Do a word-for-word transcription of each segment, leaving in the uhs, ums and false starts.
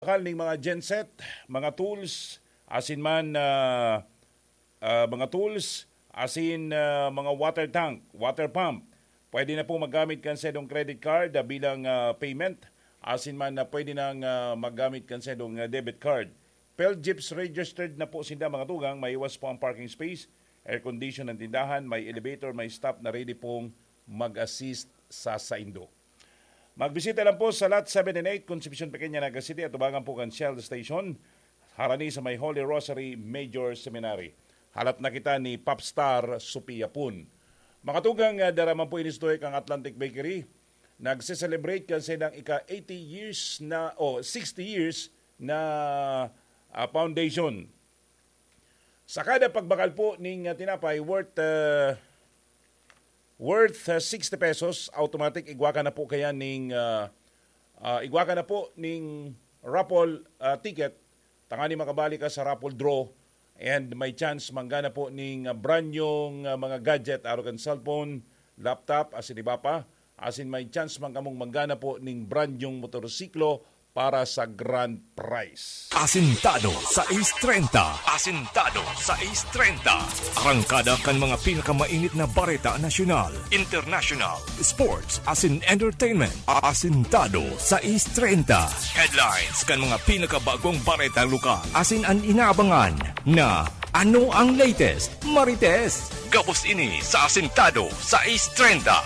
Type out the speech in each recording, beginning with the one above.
Bakal ning mga genset, mga tools, asin man, ah, ah, mga tools, asin, ah, mga water tank, water pump. Pwede na po maggamit kan saindong credit card, ah, bilang, ah, payment. Asin man na pwede nang, ah, maggamit kan saindong, ah, debit card. Philjeeps registered na po sinda, mga tugang, maiwas po ang parking space, air condition ang tindahan, may elevator, may staff na ready pong mag-assist sa saindo. Magbisita lang po sa Lot seven and eight, Concepcion Pequeña, Naga City, atubangan po kan Shell Station, harani sa may Holy Rosary Major Seminary. Halat na kita ni Popstar Sophia Pun. Mga tugang, ah, dara man po ini sa tuig ang Atlantic Bakery. Nagse-celebrate kan saindang ika eighty years na, o sixty years na, ah, foundation. Sa kada pagbakal po ning, ah, tinapay worth, ah, worth, ah, sixty pesos, automatic igwa ka na po kaya ning, ah, ah, igwa ka na po ning raffle, ah, ticket, tangani makabali ka sa raffle draw and may chance manggana po ning, ah, brand new, ah, mga gadget, arog kan cellphone, laptop, asin iba pa. Asin may chance man kamong manggana po ning brand new motorsiklo para sa grand prize. Asintado sais treinta. Asintado sais treinta. Arangkada kan mga pinakamainit na bareta nasyonal, international, sports, asin entertainment. Asintado sais treinta. Headlines kan mga pinakabagong bareta lokal. Asin an inaabangan na ano ang latest, Marites. Gabos ini sa Asintado sais treinta.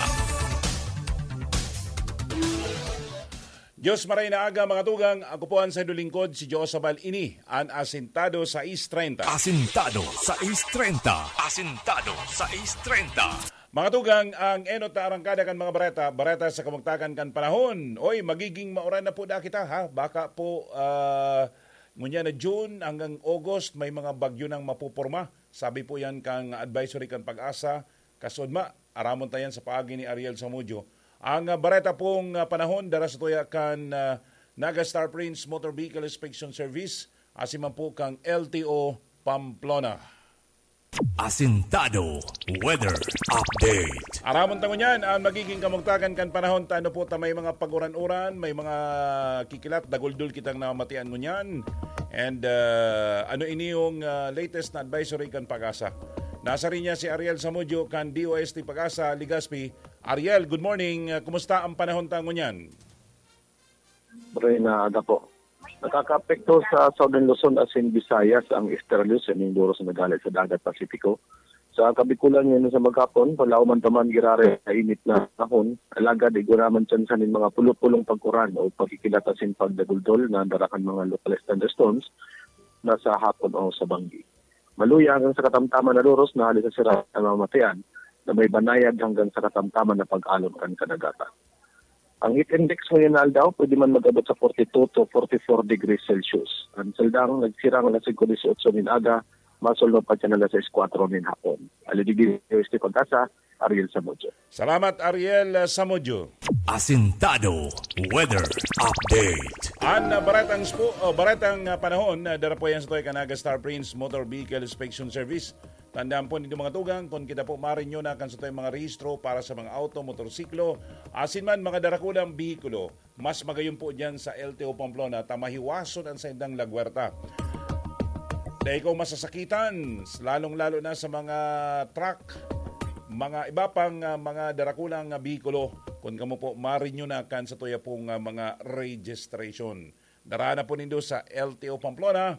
Diyos maray na aga, mga tugang. Ako po ang saindo lingkod, si Josabal. Ini an Asintado sais treinta. Asintado sais treinta. Asintado sais treinta. Mga tugang, ang enot na arangkada kan mga bareta, bareta sa kamugtakan kan panahon. Oy, magiging mauran na po da kita, ha? Baka po, ah, ngunyan na June hanggang August, may mga bagyo nang mapuporma. Sabi po yan kang advisory kan Pag-asa. Kasudma, aramon ta yan sa paagi ni Ariel Samudio. Ang, ah, bareta pong, ah, panahon, dara sa tuya kan, ah, Naga Star Prince Motor Vehicle Inspection Service, asin man po kang L T O Pamplona. Asintado Weather Update. Aramon ta ngunyan ang magiging kamugtakan kan panahon. Tano po ta may mga paguran-uran, may mga kikilat, daguldol kitang namatian ngunyan. And, ah, ano ini yung, ah, latest na advisory kan Pag-asa? Nasa linya si Ariel Samudio kan D O S T Pag-asa, Legazpi. Ariel, good morning. Ah, kumusta ang panahon ta ngunyan? Maray na aga po. Nakakaapekto sa Southern Luzon asin Visayas ang esteryo sa ining buros na galit sa Dagat Pasipiko. Sa Kabikulan ngayon sa maghapon, palaoman pa man giraray sa init na panahon, alagad igwa naman tsansa nin mga pulo-pulong pag-uran o pagkikilat asin pagdaguldol na dara kan mga localized thunderstorms na sa hapon o sa banggi. Maluya hanggang sa katamtaman na doros na hali sa sira na mamatian na may banayad hanggang sa katamtaman na pag-alon kan kadagatan. Ang heat index ngayon na aldaw, pwede man mag-abot sa forty-two to forty-four degrees Celsius. Ang saldang nagsirang alas singko dieciocho nin aga, masulno pa dyan alas sais kwatro nin hapon. Alidigdi, Pag-asa, Ariel Samudio. Salamat, Ariel, uh, Samudio. Asintado Weather Update. An, uh, baretang spo-, oh, baretang, uh, panahon, uh, dara po yan sa toy kan Naga Star Prince Motor Vehicle Inspection Service. Tandaan po ninyo, mga tugang, kung kita po marinyo na kan sa toy mga rehistro para sa mga auto, motorsiklo, asin man mga darakulang behikulo, mas magayon po diyan sa L T O Pamplona ta mahiwason an saindang lagwerta. Dai kaw masasakitan, lalong-lalo na sa mga truck, mga iba pang, ah, mga darakulang, ah, behikulo, kun kamo po marinyo na kan sa tuya pong, ah, mga registration. Dara na po nindo sa L T O Pamplona,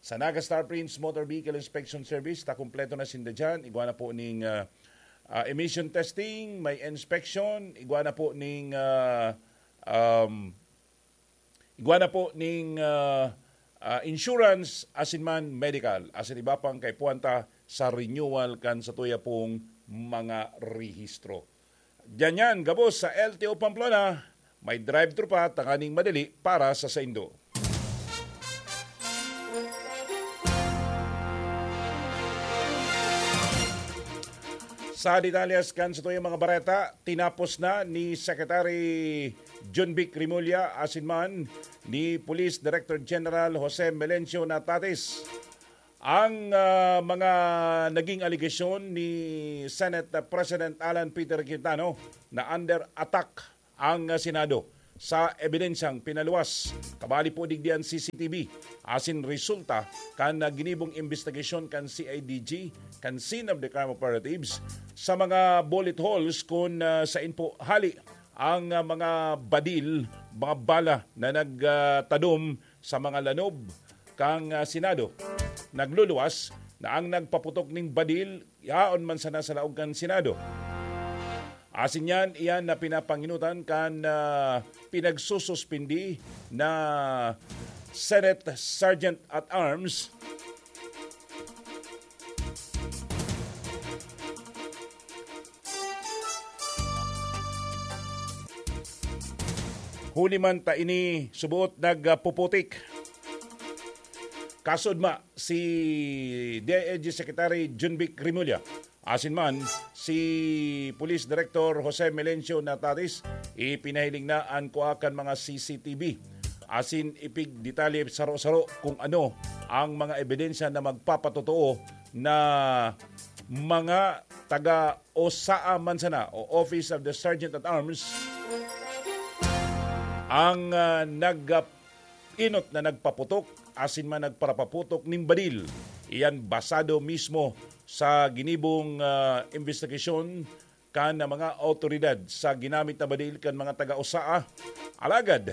sa Naga Star Prince Motor Vehicle Inspection Service, ta kompleto na sinda diyan. Igwa na po ning, ah, ah, emission testing, may inspection, igwa na po ning, ah, um, igwa na po ning, ah, ah, insurance, asin man medical, asin iba pang kaipuhan ta sa renewal kan sa tuya pong mga rehistro. Diyan yan, gabos sa L T O Pamplona, may drive-thru pa, tanganing madali para sa saindo. Sa detalyes kan sa tuyang mga bareta, tinapos na ni Secretary Jonvic Remulla asin man ni Police Director General Jose Melencio Natatis ang, ah, mga naging alegasyon ni Senate President Alan Peter Cayetano na under attack ang, ah, Senado. sa ebidensyang pinaluwas. Kabali po digdi an C C T V asin resulta kan, ah, ginibong imbestigasyon kan C I D G, kan Scene of the Crime Operatives, sa mga bullet holes kun, ah, sain po hali ang, ah, mga badil, mga bala na nagtadom sa mga lanob kan, ah, Senado. Nagluluwas na ang nagpaputok ning badil yaon man sana sa laog kan Senado. Asin yan, iyan na pinapanginutan kan, ah, pinagsususpindi na Senate Sergeant at Arms. Huli man ta ini suboot nagpuputik. Kasudma si D I L G Secretary Junvic Remulla. Asin man, si Police Director Jose Melencio Nataris, ipinahiling na an kua kan mga C C T V. Asin ipigdetalye saro-saro kung ano ang mga ebidensya na magpapatotoo na mga taga o S A A man sana o Office of the Sergeant at Arms ang, ah, nag-, ah, inot na nagpaputok asin man nagparapaputok nin badil. Iyan basado mismo sa ginibong, ah, imbestigasyon kan mga awtoridad sa ginamit na badil kan mga taga-S A A. Alagad,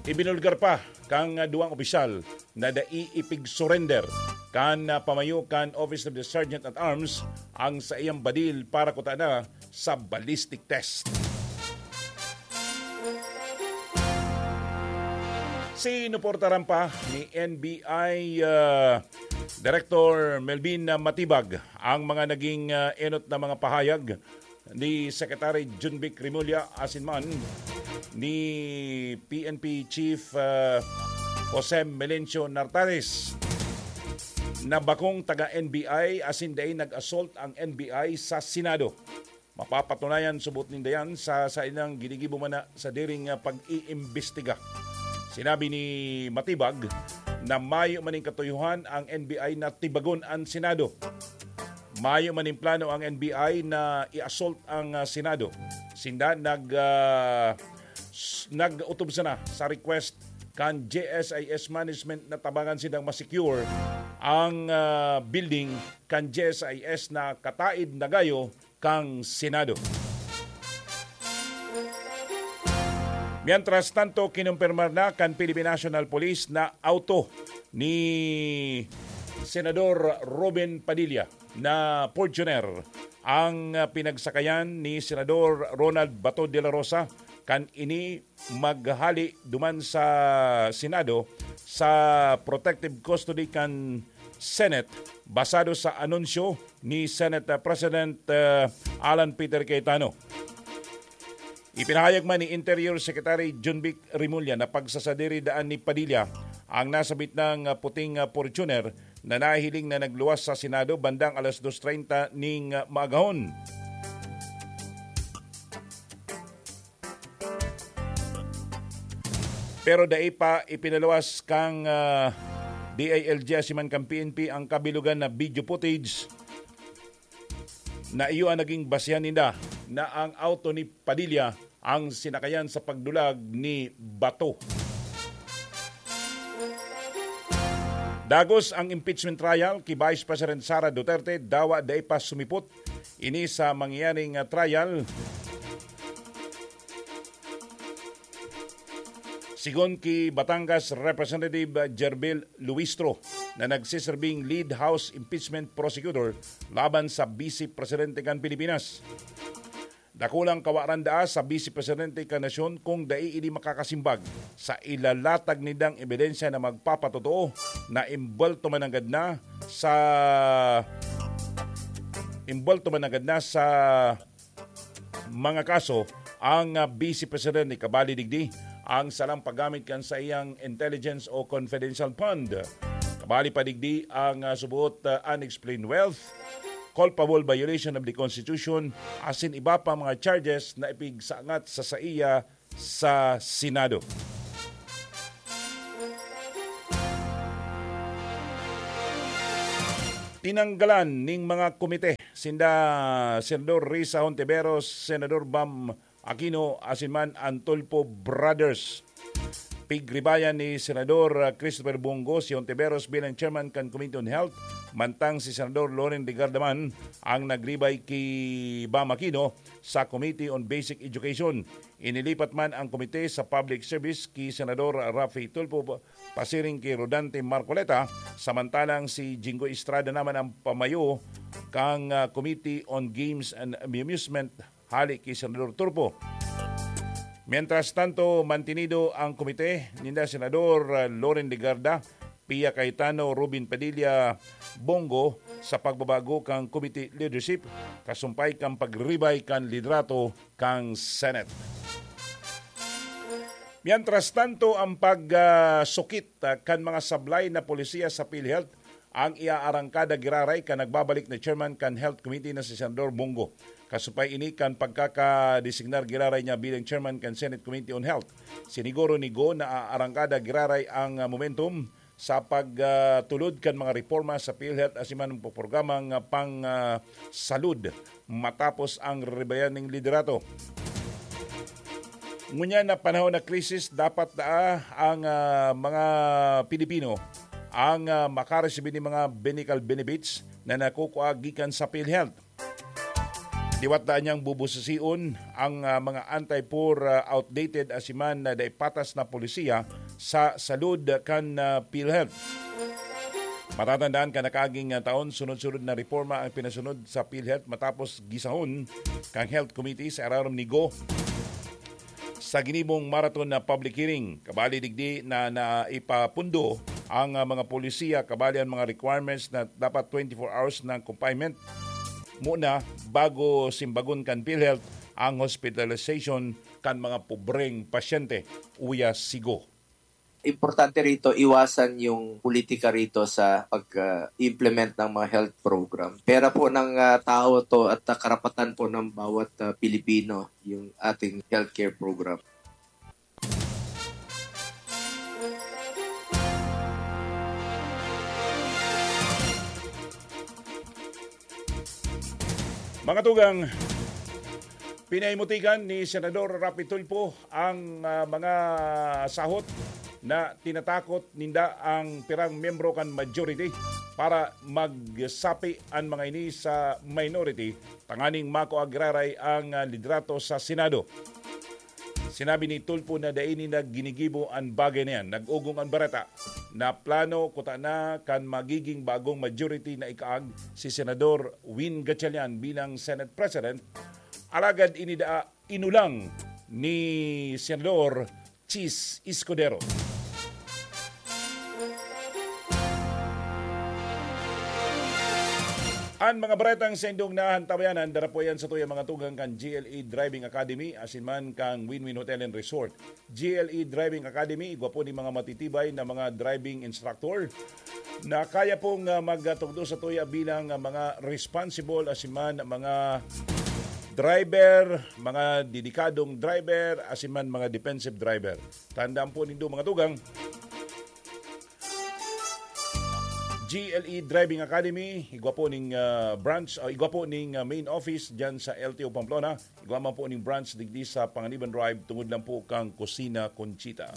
ibinulgar pa kan, ah, duwang opisyal na dai ipig-surrender kan, ah, pamayo kan Office of the Sergeant at Arms ang saiyang badil para kutana sa ballistic test. Sinuportaran pa ni N B I, ah, Director Melvin Matibag ang mga naging, ah, enot na mga pahayag ni Secretary Junvic Remulla asin man ni P N P Chief, ah, Jose Melencio Nartares na bakong taga N B I asin dai nag-assault ang N B I sa Senado. Mapapatunayan subot ninda yan sa saindang ginigibo man na sa diring, ah, pag-iimbestiga. Sinabi ni Matibag na mayo man ning katuyohan ang N B I na tibagon an Senado. Mayo man ning plano ang N B I na i-assault ang, ah, Senado. Sinda nag, ah, s-, nag-utob sana sa request kan G S I S management na tabangan sindang ma-secure ang, ah, building kan G S I S na kataid na gayo kan Senado. Mientras tanto, kinumpirmar na kan Philippine National Police na auto ni Senador Robin Padilla na Fortuner ang, ah, pinagsakayan ni Senador Ronald Bato de la Rosa kan ini maghali duman sa Senado sa protective custody kan Senate, basado sa anunsyo ni Senate, ah, President, ah, Alan Peter Cayetano. Ipinahayag man ni Interior Secretary Junvic Remulla na pagsasadiri daan ni Padilla ang nasabit nang, ah, puting, ah, Fortuner na nahiling na nagluwas sa Senado bandang alas dos treinta ning, ah, maagahon. Pero dai pa ipinaluwas kan, ah, D I L G asin man kan P N P ang kabilogan na video footage na iyo ang naging basehan ninda na ang auto ni Padilla ang sinakayan sa pagdulag ni Bato. Dagos ang impeachment trial ki Vice President Sara Duterte, dawa dai pa sumipot ini sa mangyayaring, ah, trial. Sigon ki Batangas Representative Gerbil Luistro na nagsiserbing lead House impeachment prosecutor laban sa Vice Presidente kan Pilipinas. Dakulang kawaran daa sa Vice Presidente kan nasyon kung dai ini makakasimbag sa ilalatag nindang ebidensya na magpapatotoo na imbolto mananggad na sa, imbolto mananggad na sa mga kaso ang, ah, Vice Presidente. Kabali digdi ang salang paggamit kan saiyang intelligence o confidential fund. Kabali pa digdi ang, ah, subuot, ah, unexplained wealth, culpable violation of the Constitution, asin iba pa mga charges na ipigsangat sa saiya sa Senado. Tinanggalan ning mga komite sinda Senador Risa Hontiveros, Senador Bam Aquino, asin man an Tulfo Brothers. Pigribayan ni Senador, ah, Christopher Bong Go si Hontiveros bilang chairman kan Committee on Health, mantang si Senador Loren Legarda man ang nagribay ki Bam Aquino sa Committee on Basic Education. Inilipat man ang komite sa Public Service ki Senador Raffy Tulfo pasiring ki Rodante Marcoleta, samantalang si Jinggoy Estrada naman ang pamayo kan, ah, Committee on Games and Amusement hale ki Senador Tulfo. Mientras tanto, mantinido ang komite ninda Senador, ah, Loren Legarda, Pia Cayetano, Robin Padilla, Bong Go sa pagbabago kan committee leadership, kasumpay kan pagribay kan liderato kan Senate. Mientras tanto, ang pag, ah, sukit, ah, kan mga sablay na polisiya sa PhilHealth ang iaarangkada giraray kan nagbabalik na chairman kan Health Committee na si Senador Bong Go. Kasumpay ini kan pagkakadesignar giraray niya bilang chairman kan Senate Committee on Health. Siniguro ni Go na aarangkada giraray ang, ah, momentum sa pag, ah, tulod kan mga reporma sa PhilHealth asin man ang programang, ah, pang, ah, salud matapos ang ribayan ning liderato. Ngunyan na panahon na krisis, dapat na ang, ah, mga Pilipino ang, ah, makaresibi ning mga medical benefits na nakukua gikan sa PhilHealth. Liwat daan niyang bubususion ang, ah, mga anti-poor, ah, outdated asin man na dai patas na polisiya sa salud kan, ah, PhilHealth. Matatandaan kan nakaaging, ah, taon, sunod-sunod na reporma ang pinasunod sa PhilHealth matapos gisahon kan Health Committee sa irarom ni Go sa ginibong marathon na public hearing. Kabali digdi na naipapundo ang, ah, mga polisiya, kabali ang mga requirements na dapat twenty-four hours ng confinement muna bago simbagon kan PhilHealth ang hospitalization kan mga pobreng pasyente, uya si Go. Importante rito, iwasan yung politika rito sa pag-implement ng mga health program. Pera po ng, ah, tao to at, ah, karapatan po ng bawat, ah, Pilipino yung ating healthcare program. Mga tugang, pinaimutikan ni Senador Raffy Tulfo ang, ah, mga sahot na tinatakot ninda ang pirang miyembro kan majority para magsapi an mga ini sa minority tanganing makua giraray ang, ah, liderato sa Senado. Sinabi ni Tulfo na dai ninda ginigibo an bagay na yan. Nag-ugong an bareta na plano kuta na kan magiging bagong majority na ikaag si Senador Win Gatchalian bilang Senate President. Alagad ini daa inulang ni Senador Chiz Escudero. An mga baretang sa indong nahantawayanan, dara po yan sa tuya mga tugang kan G L E Driving Academy, asin man kang Win-Win Hotel and Resort. G L E Driving Academy, igwa po ni mga matitibay na mga driving instructor na kaya pong, ah, magtugdo sa tuya bilang, ah, mga responsible asin man mga driver, mga dedikadong driver, asin man mga defensive driver. Tandaan po nindo, mga tugang, G L E Driving Academy, igwa po ning, ah, branch, ah, igwa po ning, ah, main office dyan sa L T O Pamplona. Igwa man po ning branch digdi sa Panganiban Drive, tungod lang po kang Kusina Conchita.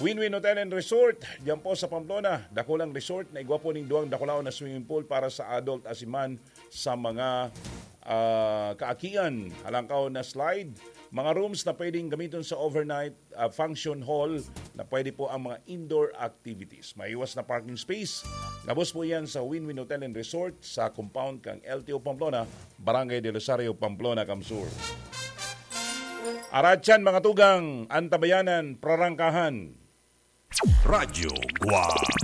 Win-Win Hotel and Resort, diyan po sa Pamplona. Dakulang resort na igwa po ning duwang dakulaon na swimming pool para sa adult asin man sa mga, ah, kaakian. Halangkaw na slide, mga rooms na pwedeng gamiton sa overnight, ah, function hall na pwede po ang mga indoor activities. May iwas na parking space. Gabos po yan sa Win-Win Hotel and Resort sa compound kang L T O Pamplona, Barangay del Rosario, Pamplona, Camsur. Aratyan, mga tugang, antabayanan, prarangkahan. Radyo Guwang.